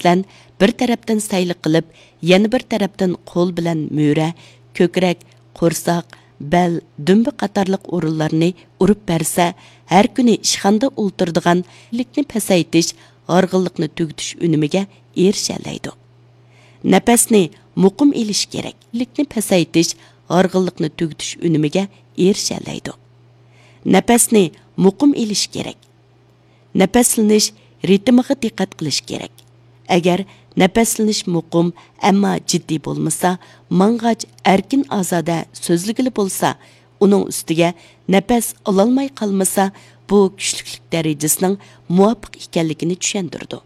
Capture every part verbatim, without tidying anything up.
بىلەن بىر تەرەپتىن سەيلە قىلىپ، يەنە بىر تەرەپتىن قول بىلەن مۈرە، كۆكرەك، قورساق، بەل، دۈمبە قاتارلىق ئورۇنلارنى ئۇرۇپ بەرسە، ھەر كۈنى ئىشخانىدا ئولتۇرىدىغان لىكنى پەسەيتىش، ھارغىنلىقنى تۈگىتىش ئۈنۈمىگە ئېرىشەلەيدۇ. نەپەسنى مۇقىم ئېلىش كېرەك. لىكنى پەسەيتىش، ھارغىنلىقنى تۈگىتىش ئۈنۈمىگە ئېرىشەلەيدۇ. نەپەسنى مۇقىم ئېلىش كېرەك. نەپەسلىنىش رىتىمىغا دىققەت قىلىش كېرەك. ئەگەر نەپەسلىنىش مۇقىم، ئەمما جىددىي بولمىسا، ماڭغاچ ئەركىن ئازادە سۆزلىگىلى بولسا، ئۇنىڭ ئۈستىگە نەپەس ئالالماي قالمىسا، بۇ كۈچلۈكلۈك دەرىجىسىنىڭ مۇۋاپىق ئىكەنلىكىنى چۈشەندۈرىدۇ.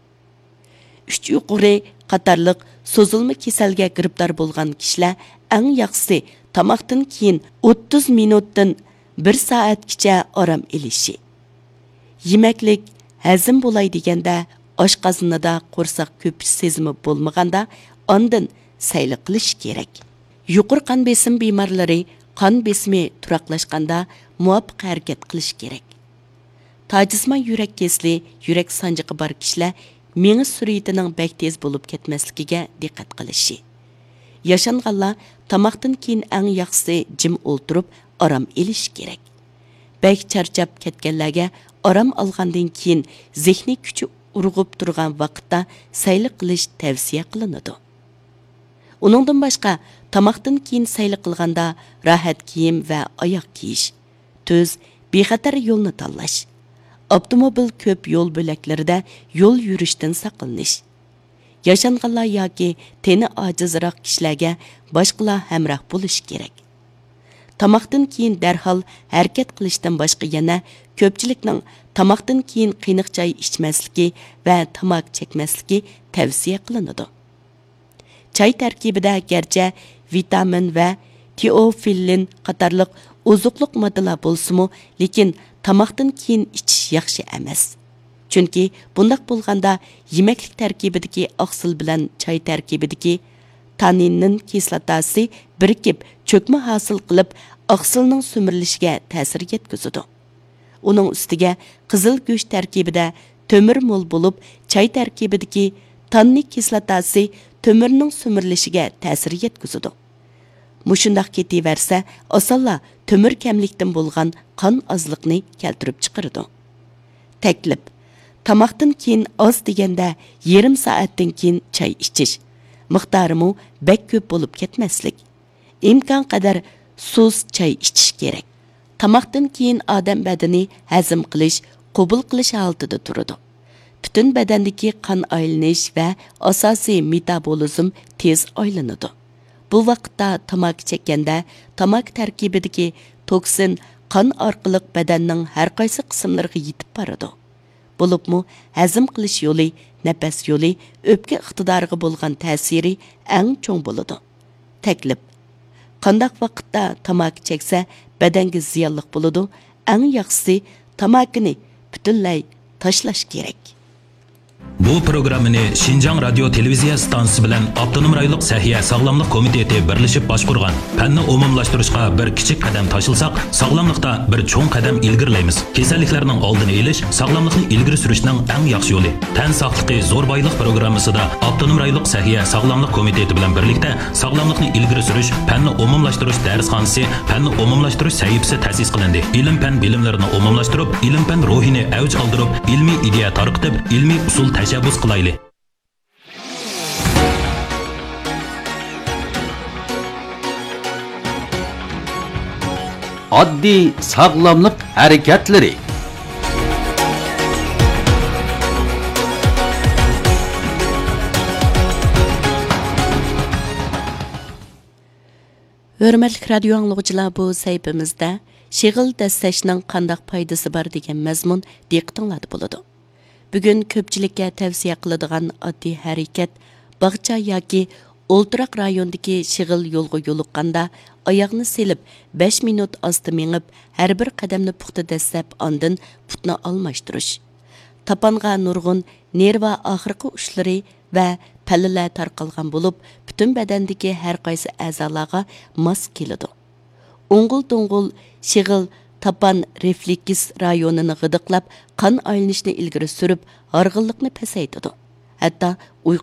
ئۈچ يۇقىرى قاتارلىق سوزۇلما كېسەلگە گىرىپتار بولغان كىشىلەر ئەڭ ياخشىسى تاماقتىن كېيىن ئوتتۇز مىنۇتتىن بىر سائەتكىچە ئارام ئېلىشى. يېمەكلىك ھەزىم بولاي دېگەندە، ئاشقازىنىدا قورساق كۆپۈش سېزىمى بولمىغاندا، ئاندىن سەيلە قىلىش كېرەك. يۇقىرى قان بېسىم بىمارلىرى قان بېسىمى تۇراقلاشقاندا مۇۋاپىق ھەرىكەت قىلىش كېرەك. تاجىسىمان يۈرەك كېسىلى، يۈرەك سانجىقى بار كىشىلەر مېڭە سۈرئىتىنىڭ بەك تېز بولۇپ كەتمەسلىكىگە دىققەت قىلىشى. ياشانغانلار تاماقتىن كېيىن ئەڭ ياخشىسى جىم ئولتۇرۇپ ئارام ئېلىشى كېرەك. بەك چارچاپ كەتكەنلەرگە ئارام ئالغاندىن كېيىن زېھنىي كۈچى ئۇرغۇپ تۇرغان ۋاقىتتا سەيلە قىلىش تەۋسىيە قىلىنىدۇ. ئۇنىڭدىن باشقا، تاماقتىن كېيىن سەيلە قىلغاندا راھەت كىيىم ۋە ئاياغ كىيىش، تۈز، بىخەتەر يولنى تاللاش، ئاپتوموبىل كۆپ يول بۆلەكلىرىدە يول يۈرۈشتىن ساقلىنىش، ياشانغانلار ياكى تېنى ئاجىزراق كىشىلەرگە باشقىلار ھەمراھ بولۇشى كېرەك. تاماقتىن كېيىن دەرھال ھەرىكەت قىلىشتىن باشقا يەنە كۆپچىلىكنىڭ تاماقتىن كېيىن قېنىق چاي ئىچمەسلىكى ۋە تاماكا چەكمەسلىكى تەۋسىيە قىلىنىدۇ. چاي تەركىبىدە گەرچە ۋىتامىن ۋە تېئوفىللىن قاتارلىق ئوزۇقلۇق ماددىلار بولسىمۇ، لېكىن تاماقتىن كېيىن ئىچىش ياخشى ئەمەس. چۈنكى بۇنداق بولغاندا يېمەكلىك تەركىبىدىكى ئاقسىل بىلەن چاي تەركىبىدىكى تاننىن كىسلاتاسى بىرىكىپ، چۆكمە ھاسىل قىلىپ، ئاقسىلنىڭ سۈمۈرۈلۈشىگە تەسىر يەتكۈزىدۇ. ئۇنىڭ ئۈستىگە قىزىل گۆش تەركىبىدە تۆمۈر مول بولۇپ، چاي تەركىبىدىكى تاننىن كىسلاتاسى تۆمۈرنىڭ سۈمۈرۈلۈشىگە تەسىر يەتكۈزىدۇ. مۇشۇنداق كېتىۋەرسە، ئاسانلا تۆمۈر كەملىكتىن بولغان قان ئازلىقنى كەلتۈرۈپ چىقىرىدۇ. تەكلىپ: تاماقتىن كېيىن ئاز دېگەندە يېرىم سائەتتىن كېيىن چاي ئىچىش. مىقدارىمۇ بەك كۆپ بولۇپ كەتمەسلىك. ئىمكانقەدەر سۇس چاي ئىچىش كېرەك. تاماقتىن كېيىن ئادەم بەدىنى ھەزىم قىلىش، قوبۇل قىلىش ھالىتىدە تۇرىدۇ. پۈتۈن بەدەندىكى قان ئايلىنىش ۋە ئاساسىي مېتابولىزم تېز ئايلىنىدۇ. بۇ ۋاقىتتا تاماكا چەككەندە، تاماكا تەركىبىدىكى توكسىن قان ئارقىلىق بەدەننىڭ ھەر قايسى قىسىملىرىغا يېتىپ بارىدۇ. بولۇپمۇ ھەزىم قىلىش يولى، نەپەس يولى، ئۆپكە ئىقتىدارىغا بولغان تەسىرى ئەڭ چوڭ بولىدۇ. تەكلىپ: قانداق ۋاقىتتا تاماكا چەكسە بەدەنگە زىيانلىق بولىدۇ؟ ئەڭ ياخشىسى تاماكىنى پۈتۈنلەي تاشلاش كېرەك. بۇ پروگراممىنى شىنجاڭ رادىيو تېلېۋىزىيە ئىستانسىسى بىلەن ئاپتونوم رايونلۇق سەھىيە ساغلاملىق كومىتېتى بىرلىشىپ باشقۇرغان. پەننى ئومۇملاشتۇرۇشقا بىر كىچىك قەدەم تاشلىساق، ساغلاملىقتا بىر چوڭ قەدەم ئىلگىرىلەيمىز. كېسەللىكلەرنىڭ ئالدىنى ئېلىش ساغلاملىقنى ئىلگىرى سۈرۈشنىڭ ئەڭ ياخشى يولى. تەن ساقلىقى زور بايلىق پروگراممىسىدا ئاپتونوم رايونلۇق سەھىيە ساغلاملىق كومىتېتى بىلەن بىرلىكتە ساغلاملىقنى ئىلگىرى سۈرۈش، پەننى ئومۇملاشتۇرۇش دەرسخانىسى، پەننى ئومۇملاشتۇرۇش سەھىپىسى تەسىس قىلىندى. ئىلىم-پەن بىلىملىرىنى ئومۇملاشتۇرۇپ، ئىلىم-پەن روھىنى ئەۋج ئالدۇرۇپ، ئىلمىي ئىدىيە تارقىتىپ، ئىلمىي ئۇسۇل تەشەببۇس قىلايلى. ئاددىي ساغلاملىق ھەرىكەتلىرى. ھۆرمەتلىك رادىيو ئاڭلىغۇچىلار، بۇ سەھىپىمىزدە شېغىل دەسسەشنىڭ قانداق پايدىسى بار دېگەن مەزمۇن دىققىتىڭلاردا بولىدۇ. بۈگۈن كۆپچىلىككە تەۋسىيە قىلىدىغان ئاددىي ھەرىكەت، باغچە ياكى ئولتۇراق رايوندىكى شېغىل يولغا يولۇققاندا، ئاياغنى سېلىپ، بەش مىنۇت ئاستا مېڭىپ، ھەر بىر قەدەمنى پۇختا دەسسەپ، ئاندىن پۇتنى ئالماشتۇرۇش. تاپانغا نۇرغۇن نېرۋا ئاخىرقى ئۇچلىرى ۋە پەللىلەر تارقالغان بولۇپ، پۈتۈن بەدەندىكى ھەر قايسى ئەزالارغا ماس كېلىدۇ. ئوڭغۇل-دوڭغۇل شېغىل تاپان رېفلېكس رايونىنى غىدىقلاپ، قان ئايلىنىشنى ئىلگىرى سۈرۈپ، ھارغىنلىقنى پەسەيتىدۇ. ھەتتا ئۇيقۇ